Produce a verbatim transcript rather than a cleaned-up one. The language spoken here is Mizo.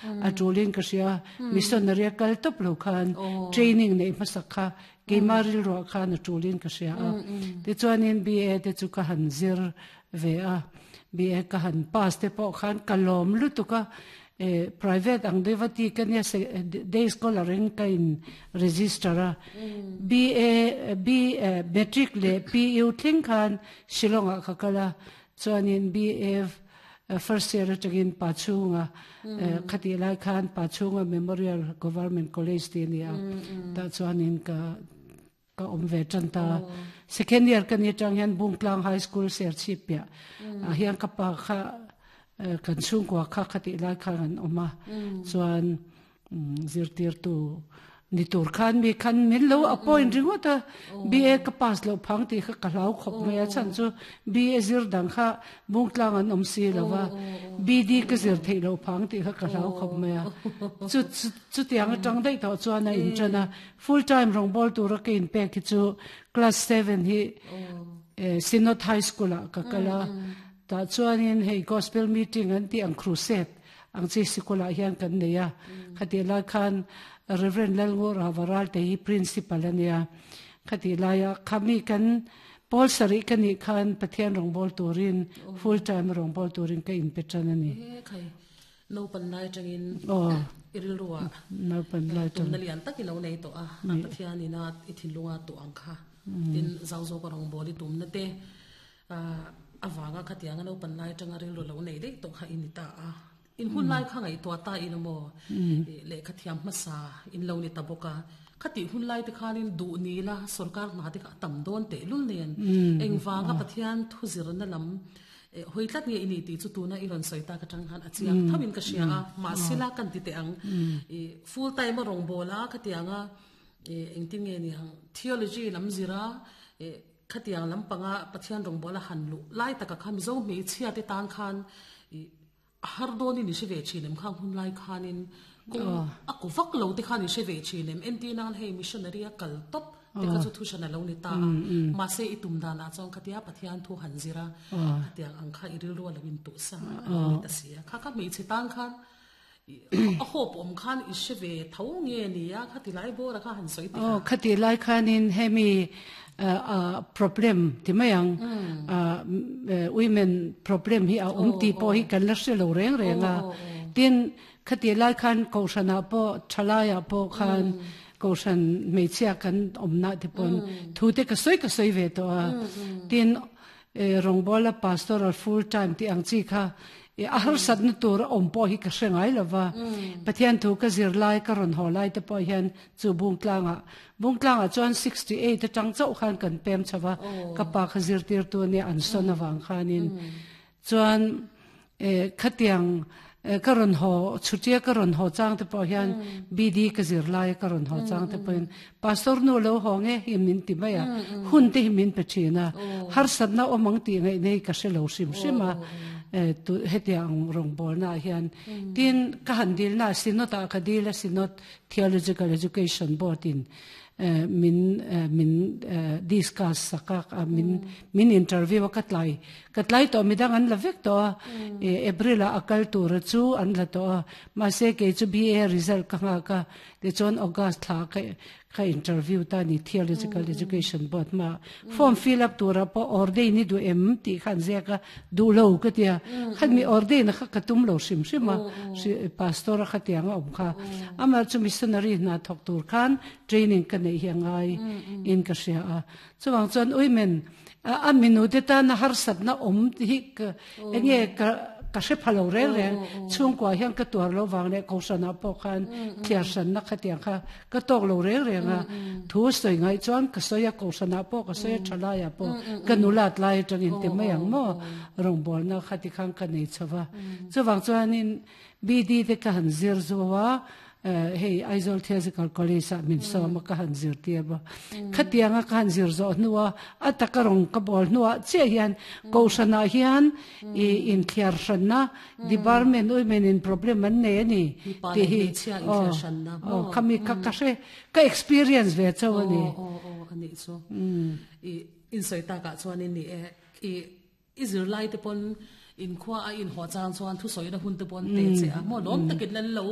A tulin ka hria missionary a kal tawp lo khan training nei hmasak kha keima rilru ah khan a tulin ka hria a. Tichuanin B A te chu ka han zir ve a, B A ka han pass te pawh khan ka lawm lutuk a. Private ang deuh a ti ka nia, day scholar in ka in register a. B A B matric leh P U thleng khan Shillong ah ka kal a. Chuanin B A first year atangin Pachhunga, khati lai khan Pachhunga Memorial Government College ti ania, tah chuanin ka ka awm ve tan ta. Second year ka ni tang hian Bungtlang High School Serchhip piah ah hian ka pa kha, kan chhungkua kha khati lai khan an awm a. Chuan zirtir tu ni tur khan mi khan min lo appoint ringawt a. B A ka pass lo phang ti kha ka hlau khawp mai a, chan chu B A zir dang kha Bungtlang an awm si lova, B D ka zir theih lo phang ti kha ka hlau khawp mai a. Chu chu tiang atang daih tawh chuan a in tana full time rawngbawl tura ka in pek hi chu class seven hi Synod High School ah ka kala. Ta chuanin hei gospel meeting an ti ang, crusade ang chi sikul ah hian kan nei a. Khati lai khan Reverend Lalngur Havaral te hi principal ania. Khati laia khami kan pawl sarih ka nih khan Pathian rawngbawl turin, full time rawngbawl turin ka in pe tan ani. Khai, no pan lai tangin oh irilruwa no pan lai tang tumna lian tak ilo nei to a, a Pathian ina i thinlunga tu ang kha tin zau zo ka rong boli tumna te awanga khatianga no pan lai tanga rilru lo nei dei to kha ini ta a. In hun lai kha ngai to ta in mo le khathiam masa in lo ni taboka khati hun lai te khanin du ni la sarkar na te kha tam don te lul nen, engwanga Pathian thu zir na lam hoi tlat nge ini ti chu tuna i ron soita ka tang han achiang thamin ka sia a. Ma sila kan ti te ang i full time rong bola khatianga engtin nge ni hang theology lam zira khatiang lam panga Pathian rong bola han lu lai taka kham zo mi chhia te tan khan i har doni ni se ve chinem khang hun lai khanin kung a ko vak lo te khan ni se ve chinem enti nan hei missionary a kal top te ka chu thu shana lo ni ta. Ma se itum dana chong khatia Pathian thu han zira khatiang ang kha iril ro lawin tu sa ni ta sia kha kha mi che tan khan a hop om khan i se ve tho nge ni a khati lai bora kha han soi te. Oh, khati lai khanin hemi problem ti mayang women problem hi a um ti po hi kan la hre lo reng reng a. Tin khati lai khan ko shana po thalaya po khan ko shan meichia kan omna te pon thu te ka soi ka soi ve to a. Tin rongbola pastoral full time ti ang chi kha a har sat na tur om po hi ka hrengai lova. Pathian thu ka zir lai ka ron ho lai te po hian chu bung tlanga bung tlanga chuan sixty-eight atang chau khan kan pem chawa ka pa kha zir tir tu ne an son awang khanin chuan khatiang ka ron ho chutia ka ron ho chang te po hian B D ka zir lai ka ron ho chang te po in pastor nu lo ho nge hi min ti maya hun te hi min pe thina har sat na omang ti ngai nei ka hre lo sim sima tu hetiang rong bol na hian. Tin ka han dil na Synod a ka dil a, Synod Theological Education Board in min min discuss saka min min interview ka tlai ka tlai to midang an la vek to. April a akal tur chu an la to ma se ke chu B A result ka nga ka te chon August thla ka ka interview ta ni Theological Education Board ma form fill up tura po ordain ni du em ti khan zia ka du lo ka tia khan mi ordain kha ka tum lo sim sim a si pastor kha tiang om kha ama chu missionary na thok tur khan training ka nei hi ngai in ka sia a. Chuwang chuan women a minu te ta na har sat na om hi ka enge ka ka hre phalo reng reng chung kwa hian ka tuar lo wang le ko sana po khan thiar san na khatiang kha ka tok lo reng reng a. Thu soi ngai chuan ka soya ko sana po ka soya thala ya po ka nulat lai tangin te mai ang mo rong bol na khati khang ka nei chawa. Chuwang chuan in B D te ka han zir zuwa hei Aizawl Theological College a min sawma ka han zir tir ba khatianga ka han zir zo nuwa atakarong ka bol nuwa che hian ko shana hian i in thiar shanna department women in problem an nei ani ti hi oh khami ka ka hre ka experience ve chaw ani. O o ani chu i in soi ta ka chuan in ni e i i zir lai te pon in khwa a in ho chang chuan thu soi na hun te pon te che a mo lom takin lan lo.